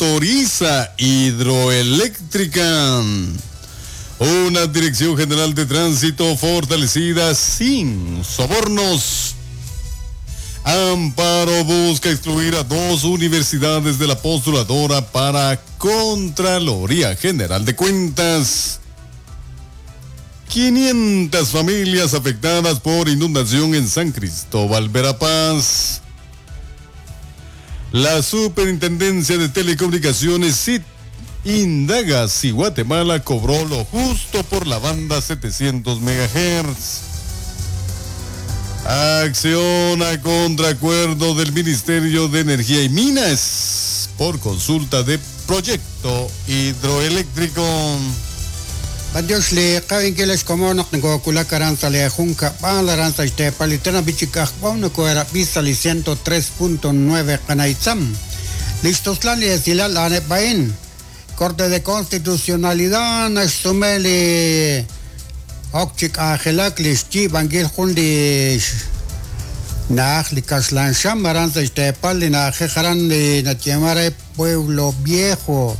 Autoriza hidroeléctrica. Una Dirección General de Tránsito fortalecida sin sobornos. Amparo busca excluir a dos universidades de la postuladora para Contraloría General de Cuentas. 500 familias afectadas por inundación en San Cristóbal, Verapaz. La Superintendencia de Telecomunicaciones SIT indaga si Guatemala cobró lo justo por la banda 700 MHz. Acciona contra acuerdo del Ministerio de Energía y Minas por consulta de proyecto hidroeléctrico. B'antiox li qa'inkil ex komon naq nokowulak aran sa' li junkab'al aran sa' xteepal li tenamit chi k'ajk'o nokoherab'i sa' li 103.9 Qanaitzam. Li xtuslal li esilal a'aneb' a'in, Corte de Constitucionalidad naxsume li ok chi k'anjelak li xyiib'ankil jun li xna'aj li kaxlan xam aran sa' xteepal li na'ajej aran li nayeeman re Pueblo Viejo.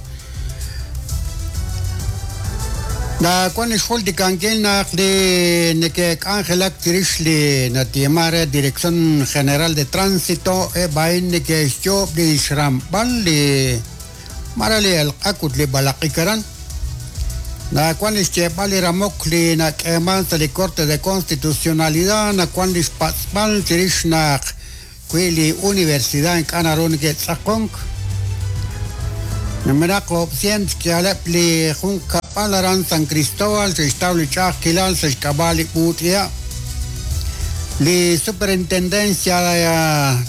Nawan li xjultikankil naq li neke'k'anjelak chirix li nayeeman re Dirección General de Tránsito eb' a'in neke'xyoob' li xramb'al li mare li elq'ak ut li b'alaq'ik aran. Nawan li xyeeb'al li ramok li nak'eeman sa' li Corte de Constitucionalidad nawan li xpatz'b'al chirix naq Wi li universidad ink'a' naru neke'tz'aqonk, numenaq oob' sient xk'ihaleb' li junqkab'al aran San Cristóbal xe'xtaw li ch'a'ajkilal sa' xk'ab'a' li b'uut'iha'. Li Superintendencia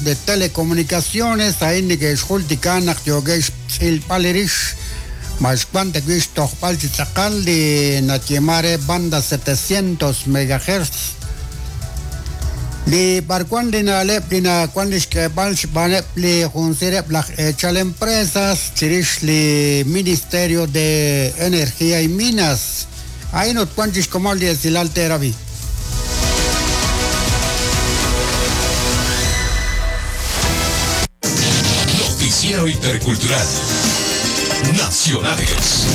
de Telecomunicaciones a'in neke'xjultika naq yookeb' xtz'ilb'al rix ma xwank ta wi' xtojb'al chi tz'aqal li nayeeman re banda 700 megahertz. Li b'arwan li na'leb' li nawan li xk'eeb'al xb'aaneb' li junsireb' laj eechal empresas chirix li Ministerio de Energía y Minas. A'in ut wan chi xkomon li esilal teerab'i. Noticiero Intercultural. Nacionales.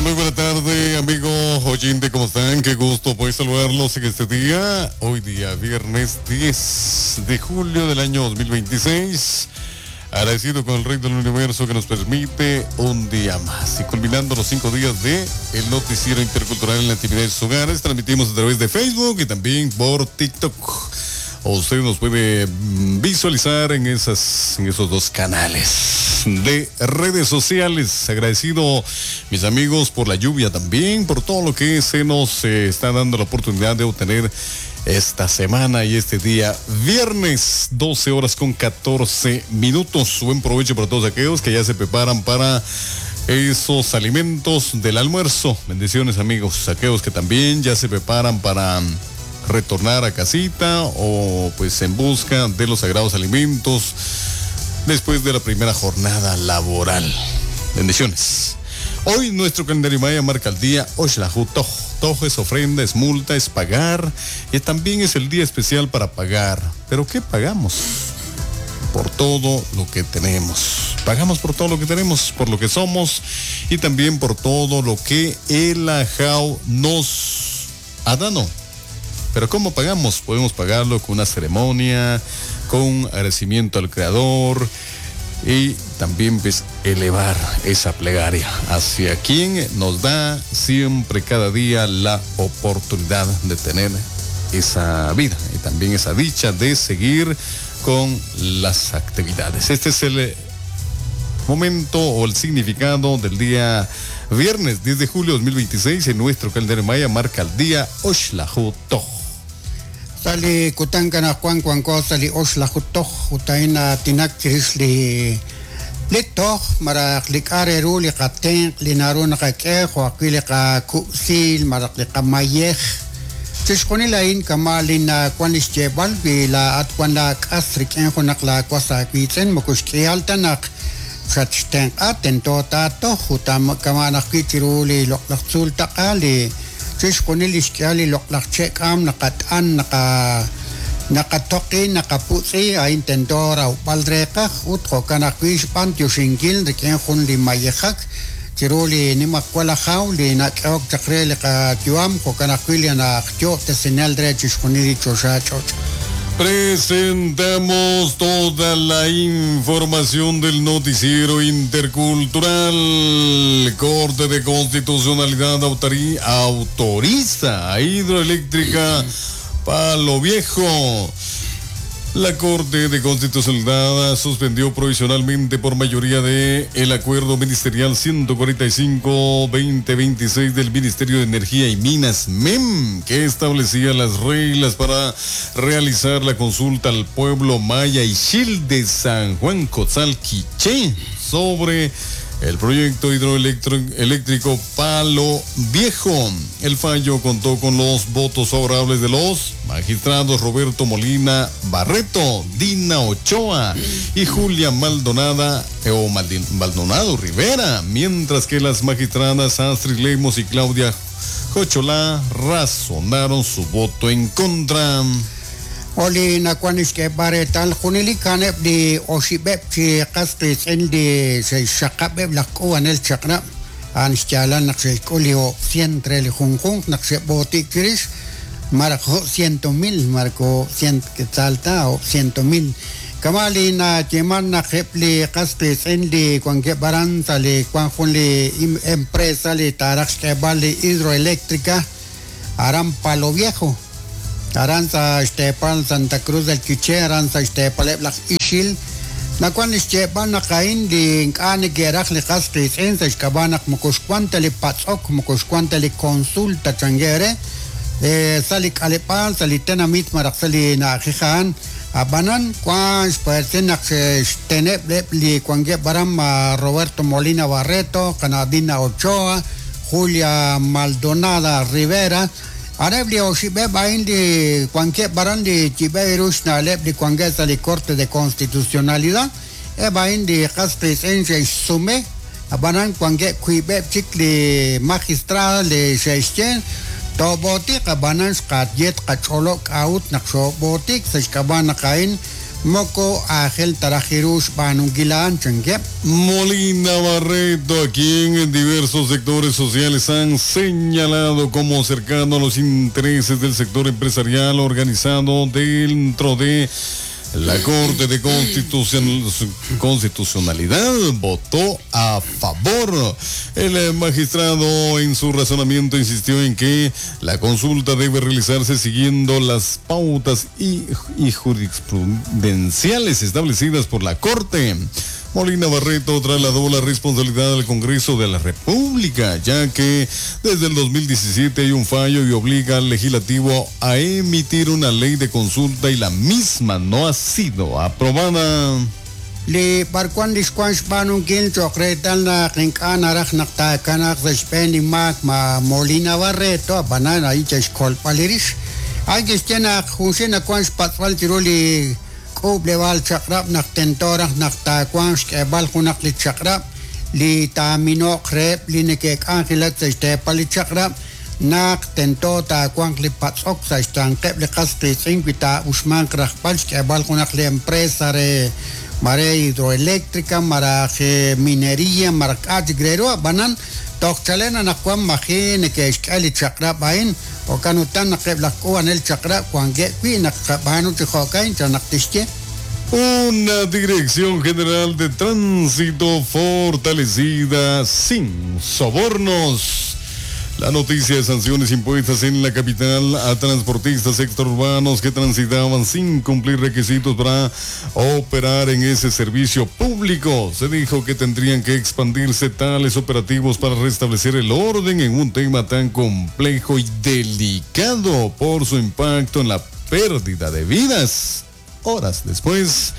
Muy buena tarde, amigo oyente, ¿cómo están? Qué gusto poder saludarlos en este día. Hoy día, viernes 10 de julio del año 2026. Agradecido con el Rey del Universo que nos permite un día más. Y culminando los 5 días de el noticiero intercultural en la actividad de sus hogares, transmitimos a través de Facebook y también por TikTok. Usted nos puede visualizar en esos dos canales de redes sociales. Agradecido, mis amigos, por la lluvia también, por todo lo que se nos está dando la oportunidad de obtener esta semana y este día viernes, 12 horas con 14 minutos. Buen provecho para todos aquellos que ya se preparan para esos alimentos del almuerzo. Bendiciones, amigos, aquellos que también ya se preparan para retornar a casita o pues en busca de los sagrados alimentos después de la primera jornada laboral. Bendiciones. Hoy nuestro calendario maya marca el día Oxlajuj Toj. Toj es ofrenda, es multa, es pagar y también es el día especial para pagar. ¿Pero qué pagamos? Por todo lo que tenemos. Pagamos por todo lo que tenemos, por lo que somos y también por todo lo que el Ajau nos ha dado. Pero ¿cómo pagamos? Podemos pagarlo con una ceremonia, con agradecimiento al Creador y también pues elevar esa plegaria hacia quien nos da siempre cada día la oportunidad de tener esa vida y también esa dicha de seguir con las actividades. Este es el momento o el significado del día viernes 10 de julio de 2026 en nuestro calendario maya marca el día Oxlajuj Toj. Sa' li kutan anaqwan wanko sa' li oxlaju toj ut a'in na'aatinak chirix li li toj malaj li k'a' re ru li qatenq' li naru naqak'e jo' ajwi' li qakub'siil malaj li qamayej. Chixjunil a'in kama' li nawan li xyeeb'al wi laa'at wan laak'as rik'in junaq laawas aawiitz'in moko xk'ihal ta naq xatxtenq'a tento taatoj ut kama'an ajwi' chiru li loq'laj tzuul taq'a li Chixjunil li xk'ihal li loq'laj che' k'aam naqat'an naqatoqi naqaputz'i a'in tento rawb'al reeqaj ut jo'kan ajwi' xb'antioxinkil rik'in jun li mayejak chiru li nimajwal ajaw li nak'ehok chaq re li qayu'am jo'kan ajwi' li naqyo'ob'tesinel re chixjunil li choxa ch'och'. Presentamos toda la información del noticiero intercultural. Corte de Constitucionalidad autoriza a Hidroeléctrica Palo Viejo. La Corte de Constitucionalidad suspendió provisionalmente por mayoría de el Acuerdo Ministerial 145-2026 del Ministerio de Energía y Minas, MEM, que establecía las reglas para realizar la consulta al pueblo maya Ixil de San Juan Cotzal Quiché sobre el proyecto hidroeléctrico Palo Viejo. El fallo contó con los votos favorables de los magistrados Roberto Molina Barreto, Dina Ochoa y Julia Maldonado Rivera, mientras que las magistradas Astrid Lemos y Claudia Cocholá razonaron su voto en contra. Oli nakuan ixk'eb'al junelik a'aneb' li oxib'eb' chi qas qiitz'in li xe'xxaqab'eb' laj k'uub'anel chaq'rab' a'an xyaalal naq xe'xk'ul li 100 re li junjunq naq xe'b'ootik chirix maraj 100,000 marco 100 quetzal ta o 100,000 kama li nayeeman naq eb' li qas qiitz'in li wankeb' aran sa' li wan jun li empresa li taaraj xk'eb'al li hidroeléctrica aran Palo Viejo aran sa xteepal Santa Cruz del Quiché aran sa xteepaleb' laj Ixil nakuan xyeeb'al naq a'in li ink'a' neke'raj li qas qiitz'in sa xk'ab'a' naq moko xwan ta li patz'ok moko xwan ta li consulta changere sa li k'aleb'aal sa li tenamit maraj sa li na'ajej a'an ab'anan wan xpaersin naq xteneb' li wankeb' aran Roberto Molina Barreto, Dina Ochoa, Julia Maldonada Rivera. Areb li oxib'eb' a'in li wankeb' aran li yib'eb' ru xna'leb' li wankeb' sa' li Corte de Constitucionalidad eb' a'in li qas qiitz'in xe'xsume ab'anan wankeb' wiib'eb' chik li magistrado li xe'xye toob'ootiq ab'anan xqaye tqach'olo' k'a'ut naq xoob'ootik sa' xk'ab'a' naq a'in moko aajel taraj ru xb'aanunkil a'an chankeb'. Molina Barreto, a quien en diversos sectores sociales han señalado como cercano a los intereses del sector empresarial organizado dentro de la Corte de Constitucionalidad, votó a favor. El magistrado en su razonamiento insistió en que la consulta debe realizarse siguiendo las pautas y jurisprudenciales establecidas por la Corte. Molina Barreto trasladó la responsabilidad al Congreso de la República, ya que desde el 2017 hay un fallo y obliga al legislativo a emitir una ley de consulta y la misma no ha sido aprobada. Li barkuan li xwan xb'aanunkil cho'q reetal naq ink'a' naraj naq taakanaq sa' xb'een li maak ma Molina Barreto ab'anan ahí che'xkolb'al li rix. Ay kixye naq junxil nakuan xpatz'b'al chiru li k'uub'leb'aal chaq'rab' naq tento raj naq taawanq xk'eeb'al junaq li chaq'rab' li taamino'q reheb' li neke'k'anjelak sa' xteepal li chaq'rab' naq tento taawanq li patz'ok sa' xyanqeb' li qas qiitz'in wi taa'uxmanq rajb'al xk'eeb'al junaq li empresa re mare hidroeléctrica maraj minería maraj k'a' chik re ru ab'anan toj chalen anaqwan maji neke'xk'e li chaq'rab' a'in jo'kan utan naq eb' laj k'uub'anel chaq'rab' wankeb' wi' naq qab'aanu chi jo'kan chan naq tixye. Una Dirección General de Tránsito fortalecida sin sobornos. La noticia de sanciones impuestas en la capital a transportistas extraurbanos que transitaban sin cumplir requisitos para operar en ese servicio público. Se dijo que tendrían que expandirse tales operativos para restablecer el orden en un tema tan complejo y delicado por su impacto en la pérdida de vidas. Horas después,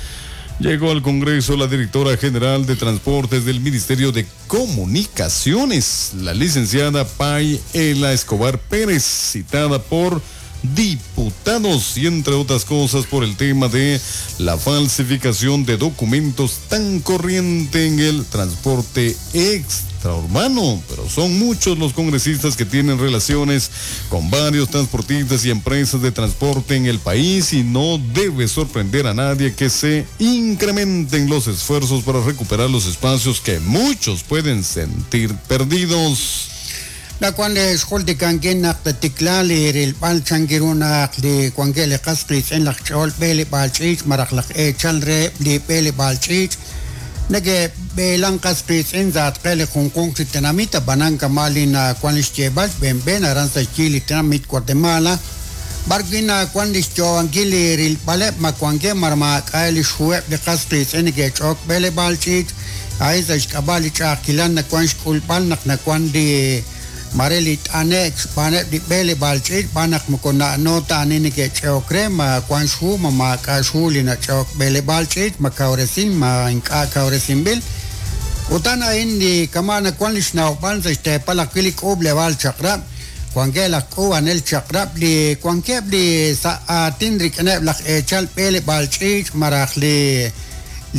llegó al Congreso la directora general de Transportes del Ministerio de Comunicaciones, la licenciada Pay Ela Escobar Pérez, citada por diputados y entre otras cosas por el tema de la falsificación de documentos tan corriente en el transporte extraurbano. extraurbano, pero son muchos los congresistas que tienen relaciones con varios transportistas y empresas de transporte en el país y no debe sorprender a nadie que se incrementen los esfuerzos para recuperar los espacios que muchos pueden sentir perdidos. La cual es jultikankin naq tatiklali rilb'al chankiru naq li wankeb' li qas qiitz'in laj ch'ol b'eleb'aal ch'iich' maraj laj eechal re li b'eleb'aal ch'iich' neke'b'eelan qas qiitz'in sa'atqe li junjunq chi tenamit ab'anan kama' li nawan li xyeeb'al xb'eenb'een aran sa' xyi li tenamit Guatemala b'ar wi' nawan li xyo'onkil li rilb'aleb' ma wankeb' mar maak'a' li xhuheb' li qas qiitz'in neke'ch'ook b'eleb'aal ch'iich' a'in sa' xk'ab'a' li ch'a'ajkilal nawan xk'ulb'al naq nawan li mare li t'ane'k xb'aaneb' li b'eleb'aal ch'iich' b'an naq moko na'no ta ani neke'ch'e'ok re ma wan xhu ma maak'a' xhu li nach'e'ok b'eleb'aal ch'iich' ma kawresin ma ink'a' kawresinb'il utan a'in li kama' nawan li xnawb'al sa' xteepal ajwi' li k'uub'leb'aal chaq'rab' wankeb' laj k'uub'anel chaq'rab' li wankeb' li sa' aatin rik'ineb' laj eechal b'eleb'aal ch'iich' maraj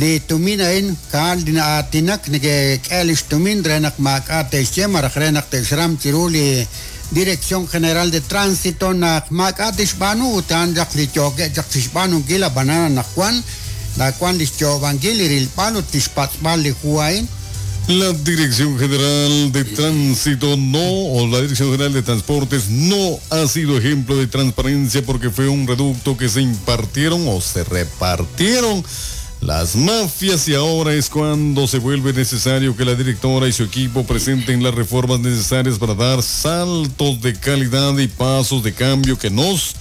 li tumin a'in ka'al li na'aatinak neke'k'e li xtumin re naq maak'a' te'xye maraj re naq te'xram chiru li Dirección General de Tránsito naq maak'a' tixb'aanu utan chaq li yookeb' chaq chixb'aanunkil ab'anan anaqwan nawan li xyo'ob'ankil li rilb'al ut tixpatz'b'al li hu a'in. La Dirección General de Tránsito no, o la Dirección General de Transportes no ha sido ejemplo de transparencia porque fue un reducto que se impartieron o se repartieron las mafias y ahora es cuando se vuelve necesario que la directora y su equipo presenten las reformas necesarias para dar saltos de calidad y pasos de cambio que nos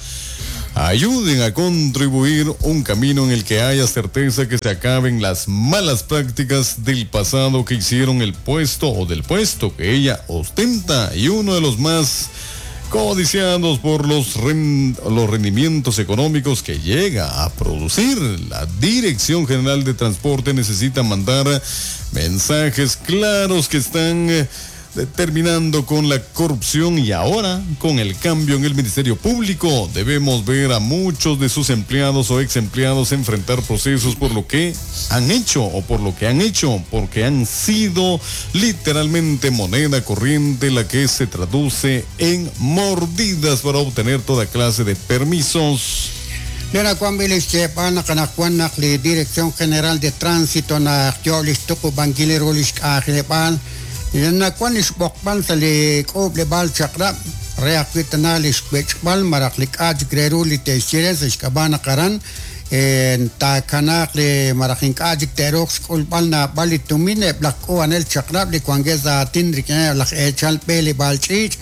ayuden a contribuir un camino en el que haya certeza que se acaben las malas prácticas del pasado que hicieron el puesto o del puesto que ella ostenta y uno de los más codiciados por los rendimientos económicos que llega a producir. La Dirección General de Transporte necesita mandar mensajes claros que están terminando con la corrupción y ahora con el cambio en el Ministerio Público debemos ver a muchos de sus empleados o ex empleados enfrentar procesos por lo que han hecho o por lo que han hecho, porque han sido literalmente moneda corriente la que se traduce en mordidas para obtener toda clase de permisos. Lena Juan Bilis xyeeb'al naq anaqwan naq li Dirección General de Tránsito naq yo li xtuqub'ankil ru li xk'anjeleb'aal nawan li xb'oqb'al sa' li k'uub'leb'aal chaq'rab' re ajwi' tana li xwech'b'al maraj li k'a' chik re ru li te'xye re sa' xk'ab'a' naq aran taakanaaq li maraj ink'a' chik te'ruuq xk'ulb'al naab'al li tumin eb' laj k'uub'anel chaq'rab' li wankeb' sa' aatin rik'ineb' laj eechal b'eleb'aal ch'iich'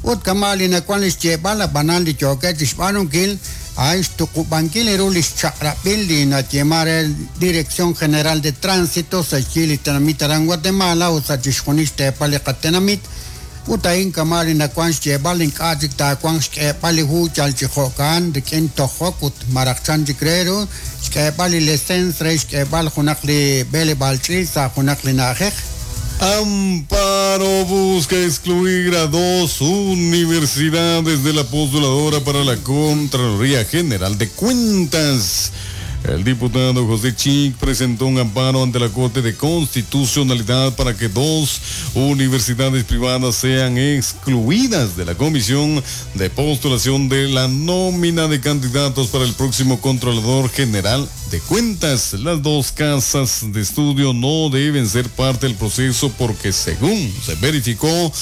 ut kama' li nawan li xyeeb'al ab'anan li yookeb' chixb'aanunkil a'in xtuqub'ankil ru li xchaq'rab'il li nayeema re Dirección General de Tránsito sa' xyi li tenamit aran Guatemala ut sa' chixjunil xteepal li qatenamit ut a'in kama' li nawan xyeeb'al ink'a' chik taawanq xk'eeb'al li hu yal chi jo'kan rik'in tojok ut maraj chan chik re ru xk'eeb'al li lesens re xk'eeb'al junaq li b'eleb'aal ch'iich' sa' junaq li na'ajej. Amparo busca excluir a dos universidades de la postuladora para la Contraloría General de Cuentas. El diputado José Chic presentó un amparo ante la Corte de Constitucionalidad para que dos universidades privadas sean excluidas de la Comisión de Postulación de la nómina de candidatos para el próximo Contralor General de Cuentas. Las dos casas de estudio no deben ser parte del proceso porque, según se verificó,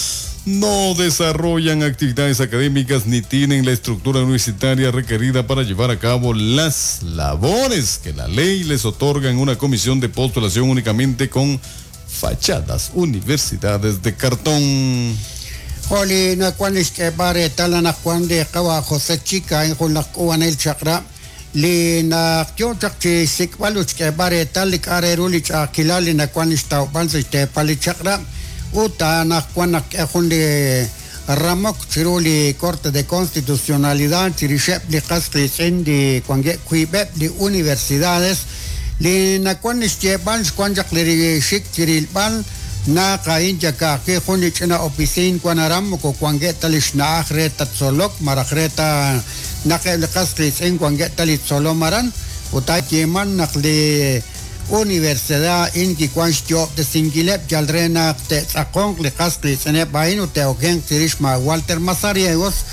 no desarrollan actividades académicas ni tienen la estructura universitaria requerida para llevar a cabo las labores que la ley les otorga en una comisión de postulación únicamente con fachadas universidades de cartón. Joli, nawan li xk'eeb'al reetal anaqwan li qawa José Chic a'in jun laj k'uub'anel chaq'rab' li naq yo chaq chi xsik'b'al ut xk'eeb'al reetal li k'a' re ru li ch'a'ajkilal li nawan li xtawb'al sa' xteepal li chaq'rab' ut anaqwan naq k'e jun li ramok chiru li Corte de Constitucionalidad chirixeb' li qas qiitz'in li wankeb' wiib'eb' li universidades li nawan li xyeeb'al xwan chaq li xik chirilb'al naq a'in yaka'ajwi' jun li ch'ina oficin wan aran moko wankeb' ta li xna'aj re ta tzolok maraj re ta naq eb' li qas qiitz'in wankeb' ta li tzolom aran ut ayeeman naq li Universidad a'in kiwan xyo'ob'tesinkileb' yal re naq te'tz'aqonq li qas qiitz'ineb' a'in ut te'okenq chirix ma' Walter Mazariegos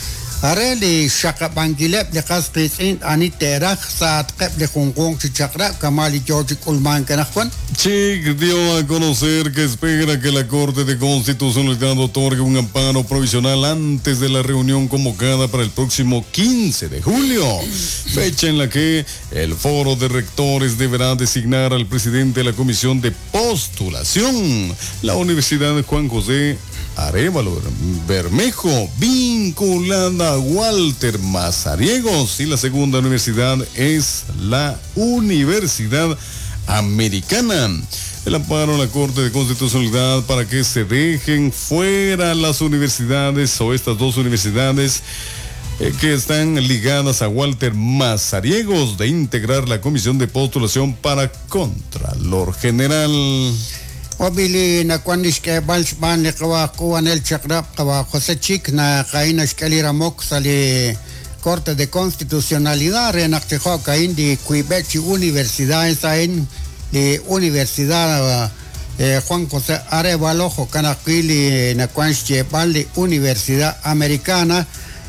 re li xxaqab'ankileb' li qas qiitz'in ani te'raj sa'atqeb' li junjunq chi chaq'rab' kama' li yo chi k'ulmank anaqwan. Chic dio a conocer que espera que la Corte de Constitucionalidad otorgue un amparo provisional antes de la reunión convocada para el próximo 15 de julio, fecha en la que el Foro de Rectores deberá designar al presidente de la Comisión de Postulación, la Universidad Juan José Arévalo Bermejo, vinculada a Walter Mazariegos, y la segunda universidad es la Universidad Americana. El amparo a la Corte de Constitucionalidad para que se dejen fuera las universidades o estas dos universidades que están ligadas a Walter Mazariegos de integrar la Comisión de Postulación para Contralor General. Ob'i li nawan li xk'eeb'al xb'aan li qawa' aj k'uub'anel chaq'rab' qawa' José Chic naq a'in naxk'e li ramok sa' li Corte de Constitucionalidad re naq chi jo'ka'in li wiib'eb' chi universidades a'in li Universidad Juan José Arévalo jo'kan ajwi' li nawan xyeeb'al li Universidad Americana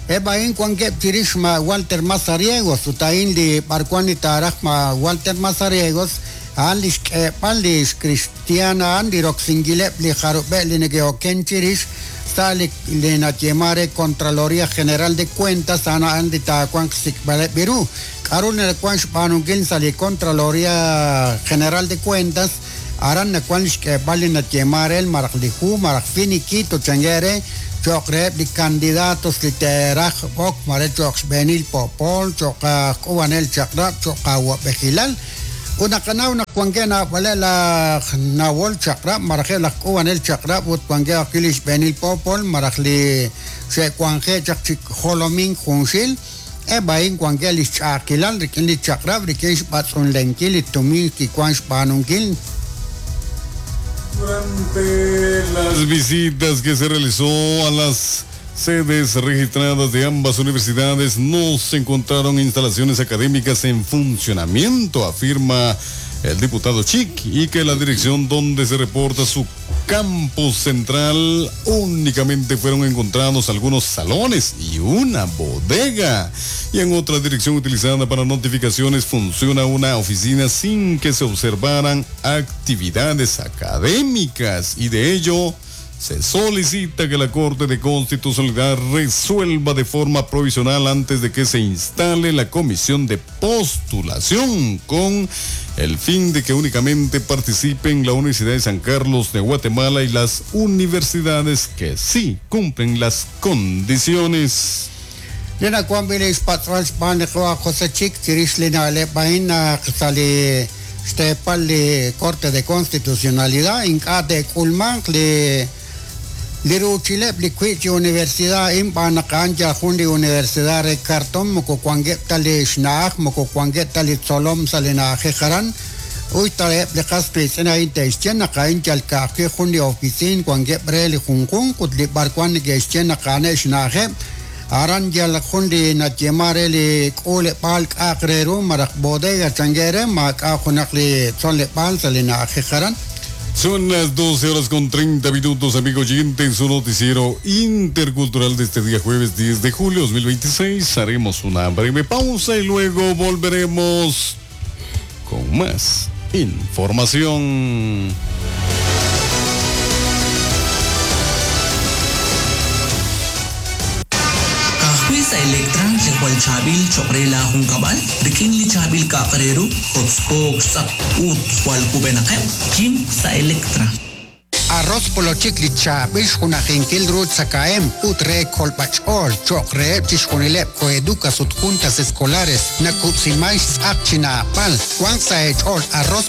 eb' a'in wankeb' chirix ma' Walter Mazariegos ut a'in li b'arwan li taaraj ma' Walter Mazariegos a'an li xk'eeb'al li xkristiaan a'an li roksinkileb' li jarub'eb' li neke'oken chirix sa' li li nayeeman re Contraloría General de Cuentas a'an a'an li taawanq xsik'b'aleb' ru. K'a'ru nawan xb'aanunkil sa' li Contraloría General de Cuentas? Aran nawan xk'eeb'al li nayeeman re malaj li hu malaj finiquito chanke re cho'q reheb' li candidatos li te'raj ok mare cho'q xb'eenil poopol, cho'q aj k'uub'anel chaq'rab', cho'q awa'b'ejilal. Ut naqanaw naq wankeb' naab'aleb' laj nawol chaq'rab' malaj eb' laj k'uub'anel chaq'rab' ut wankeb' ajwi' li xb'eenil poopol malaj li xe'wanje'k chaq chi jolomink junxil, eb' a'in wankeb' li xch'a'ajkilal rik'in li chaq'rab' rik'in xb'atz'unlenkil li tumin kiwank xb'aanunkil. Durante las visitas que se realizó a las sedes registradas de ambas universidades no se encontraron instalaciones académicas en funcionamiento, afirma el diputado Chic, y que la dirección donde se reporta su campus central únicamente fueron encontrados algunos salones y una bodega. Y en otra dirección utilizada para notificaciones funciona una oficina sin que se observaran actividades académicas, y de ello se solicita que la Corte de Constitucionalidad resuelva de forma provisional antes de que se instale la comisión de postulación con el fin de que únicamente participen la Universidad de San Carlos de Guatemala y las universidades que sí cumplen las condiciones. Li nawanb'il li xpatz'b'al xb'aan li qawa' José Chic chirix li na'leb' a'in naq sa' li xteepal li Corte de Constitucionalidad ink'a' te'k'ulmanq li li ruuchileb' li wiib' chi universidad a'in xb'aan naq a'an yal jun li universidad re karton moko wankeb' ta li xna'aj moko wankeb' ta li tzolom sa' li na'ajej aran uy ta eb' li qas qiitz'in a'in te'xye naq a'in yal ka'ajwi' jun li ofisiin wankeb' re li junjunq ut li b'arwan neke'xye naq a'aneb' xna'ajeb' aran yal jun li nayeeman re li k'uuleb'aal k'a'aq re ru malaj bodega chanke re maak'a' junaq li tzoleb'aal sa' li na'ajej aran. Son las 12 horas con 30 minutos, amigo oyente, en su noticiero intercultural de este día jueves 10 de julio 2026. Haremos una breve pausa y luego volveremos con más información. Ka'ajwi' sa' Elektra li jwal chaab'il cho'q re laajunkab'al, rik'in li chaab'il k'a'aq re ru, kotzkook xtz'aq ut jwal kub'enaqeb', kim sa' Elektra. Arroz polochik li chaab'il xjunajinkil ru tzakahemq ut re kolb'ach'ool cho'q reheb' chixjunileb' Coeducas ut Juntas Escolares nakub'siman xtz'aq chi naab'al. Wanq sa' eech'ool arroz.